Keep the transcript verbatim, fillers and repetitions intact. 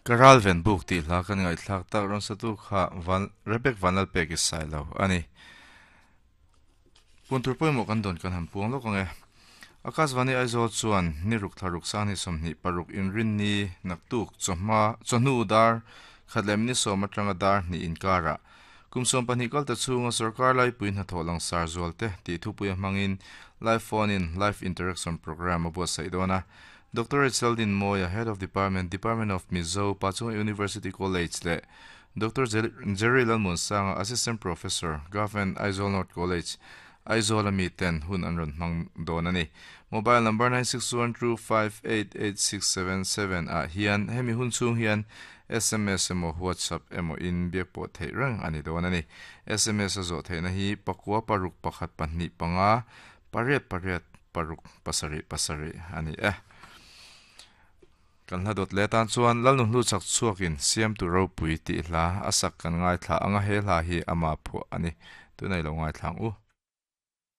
Karal ven buk ti hla kan ngai thlak tak ron satu kha van Rebek vanal pek is sai lo ani puntur poimo kan don kan han puang lo kange Akashvani Aizawl chuan ni ruk tharuk sani somni paruk inrin ni naktuk chawhma chawhnu dar khatlem ni sawm atanga dar ni inkara kumsawm pahnih kal ta chhunga sarkar lai pui hnathawh langsar zual te tih thupui a hmangin live phone in live interaction program a buatsaih dawn a Doctor Cheldin Moya Head of Department Department of Mizo Pachung University College le Doctor Jerry Lalmunsanga Assistant Professor Government Aizawl North College Aizawl ami ten hun an rawn hmang dawn ani mobile number nine six one two five eight eight six seven seven ah hian hemi hun chhung hian S M S emaw WhatsApp emaw in biak pawh theih reng ani dawn ani S M S a zawh theihna hi pakua paruk pakhat pahnih panga pariat pariat paruk pasarih pasarih ani e kan hla dawt le tan chuan lalnu hlu chak chhuakin siam tu ropui tih hla a sak kan ngai thla anga he hla hi ama phuah ani tunai lo ngai thlang u.